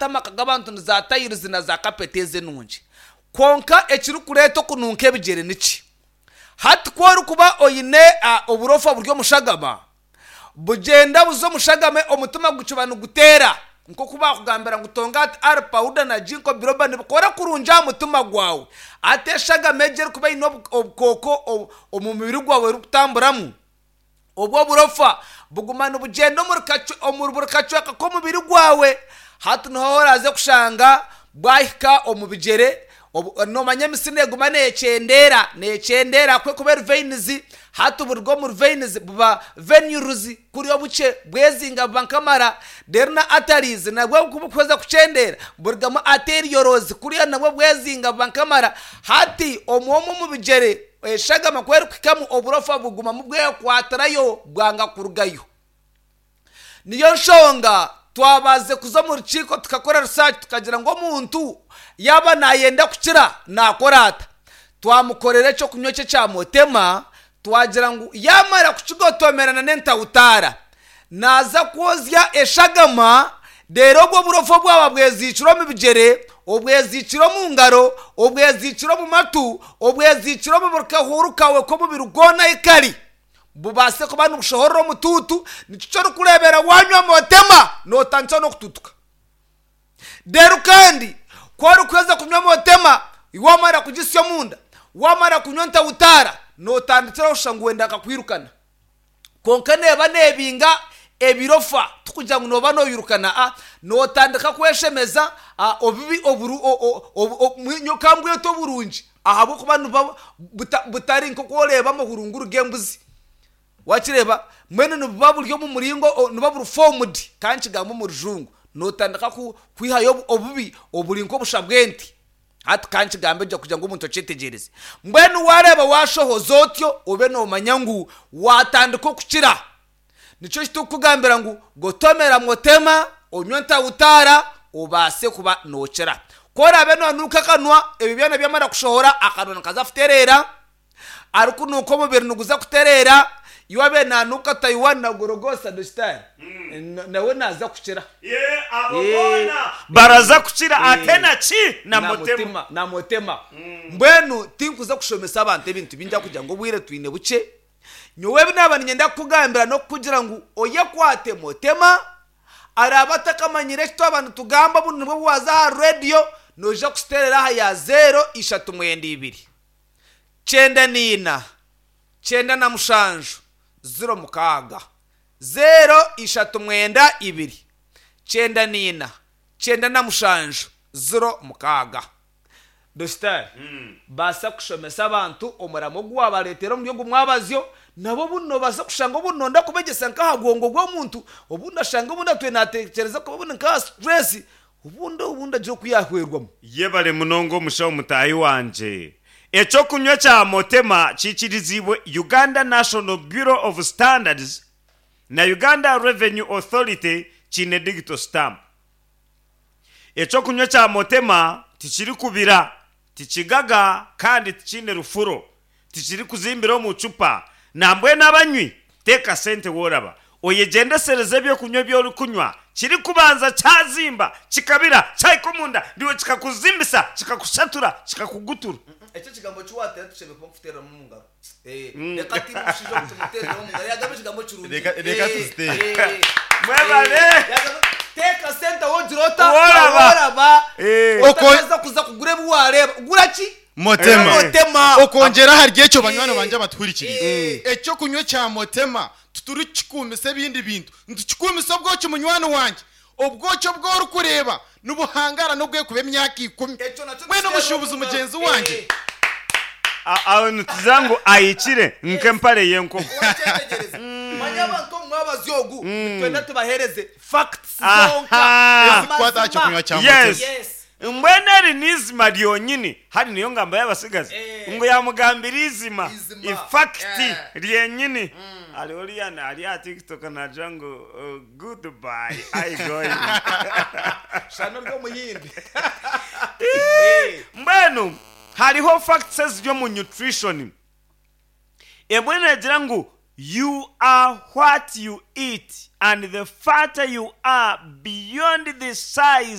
amaka g'abantu ni za tayirizi na za kapeti ezi enungi. Kwonka ekirikureeta okununka ebigyere niki? Hati ku orikuba oine oburofa buri omu shagama, bugyenda buza omu shagama omutima gukiba niguteera nk'oku baakugambira ngu Tongat R Powder na Ginkgo Biloba nibikora kurungi aha mutima gwawe. Hati eshagama egi erikuba eine obukooko omu mubiri gwawe erikutamburamu, Obwo oburofa buguma nibugyenda omuri buri kacweka k'omubiri gwawe. Hati niho oraaze kushanga bwahika omu bigyere. Noomanya emitsi neeguma neekyendeera, neekyendeera ahabw'okuba ekuba eri veins. Hati buruga omuri veins buba venules kuriya obukye bwezinga buba nk'amara. Reero na arteries nabwo ku burikuheza kukyendeera burugamu arterioles kuriya nabwo bwezinga buba nk'amara. Hati omwe omwe omu bigyere. Eshagama ku erikuhikamu oburofa bugumamu bwekwatirayo bwanga kurugayo. Niyo nshonga twabaze kuza omu rukiiko tukakora research tukagira ngu omuntu yaaba nayenda kukira nakora ata? Twamukorera ekyokunywa eki ekya Motema twagira ngu yamara kukigotomera na n'entawutaara Naaza kwozya eshagama, reero obwo oburofa bwaba bweziikire omu bigyere, obweziikire omu ngaro, obweziikire omu matu, obweziikire omu buri kahuuru kaawe k'omubiri gwona ahi kari, bubaase kuba nibushohorera omutuutu. Nikyo eki orikureebera waanywa Motema, nootandikira n'okutuutuka. Reero kandi ku orikuheza kunywa Motema, waamara kugisya omunda, waamara kunywa Ntawutaara, nootandikira kushusha ngu wenda nkakwirukana. Kwonka neeba neebinga ebirofa, tikugira ngu nooba nooyirukana, a nootandika kweshemeza a obubi oburu o o obu o nyowe ka mbwete oburungi ahabw'okuba nibuba buta butari nk'oku oreeba amahurunguru g'embuzi. Waakireeba? Mbwenu nibuba buri omu muringo o nibuba buri formed, ka nkigambe omu rujungu. Nootandika ku kwihayo obubi oburi nk'obusha bw'ente. Hati ka nkigambe gye kugira ngu omuntu akyetegyereze. Mbwenu waareeba waashohoza otyo, obe noomanya ngu waatandika okukira. Nikyo eki turikukugambira ngu gotomera motema, onywe ntawutaara, obaase kuba nookira. Ku oraabe noonuuka akanwa, ebyo byona byamara kushohora, akanwa nikaza kutereera. Arikunuuka omubiri niguza kutereera, iwe abe nanuuka Taiwan na Gorogosa Dokitaari nawe naza kukira. Yee abo boona baraza kukira ate na ki? Na Motema. Na Motema. Mbwenu tinkuza kushomesa abantu ebintu bingi ahakugira ngu obwire twine bukye. Nyowe ebi naaba niinyenda kukugambira n'okukugira ngu oyekwate Motema, araabe atakamanyire eki twaba nitugamba obundi nibwo obu waaza aha reediyo noija kusiteerera aha ya zeero ishatu mwenda ibiri. 94, 97, 06, 0 3 92, 94, 97, 06. Dositari, baasa kushomesa abantu omuramo ogu waabareetera omuri ogu mwabazyo, nabo obundi noobaasa kushanga obundi nooyenda kubegyesa nk'aha bwongo bw'omuntu, obundi ashange obundi atwire naatekyereza kuba obundi nk'aha stress, Obundi obundi agira oku yaahwerwamu. Yebare munonga omushaho mutaahi wangye. Ekyokunywa kya Motema kiikiriziibwe Uganda National Bureau of Standards na Uganda Revenue Authority kiine digital stamp. Ekyokunywa kya Motema tikirikubira, tikigaga kandi tikiine rufuro. Tikirikuzimbira omu cupa. Nambwenu abanywi, teeka sente woraba. Oyegyendesereze eby'okunywa ebi orikunywa. Kirikubanza kyazimba, kikabira, kyahika omunda, ndiwe kikakuzimbisa, kikakushatura, kikakugutura. Ekyo ekigambo eki waateera tushemereire kuba nikuteereramu omu ngaro. Reka tiimu omushaija ogu tumuteereremu omu ngaro. Yaagamba ekigambo kirungi. Reka tuziteere. Mwebale. Teeka sente ahu ogira ota? Woraba. Ahu oraba. Otakaza kuza kugura ebi waareeba. Gura ki? Motema. Motema. Okwongyera ahari ekyo banywani bangye abatuhurikiriize, eky'okunywa ekya Motema titurikukikuumisa ebindi bintu. Nitukikuumisa obwoki munywani wangye. Obwoki obu orikureeba nibuhangaara n'obwekuba emyaka ikumi. Mbwenu omushuubuzi mugyenzi wangye. Aho nitugira ngu ahikire nk'empare y'enkoko. Wakyetegyereza? Manya abantu omu mwabazyo ogu nitwenda tubaheereze facts zonka, Ezikukwata aha ky'okunywa kya Motema. Yes. Mbwenu eri n'eizima ryonyini, hati niyo ngamba y'abatsigazi, ngu yaamugambira eizima, ifakiti ryenyini. Hariho oriya ari aha TikTok naagira ngu goodbye I going. Shana ori omuhindi. Mbwenu hariho facts eziri omu nutrition. Emwe neegira ngu you are what you eat and the fatter you are beyond the size.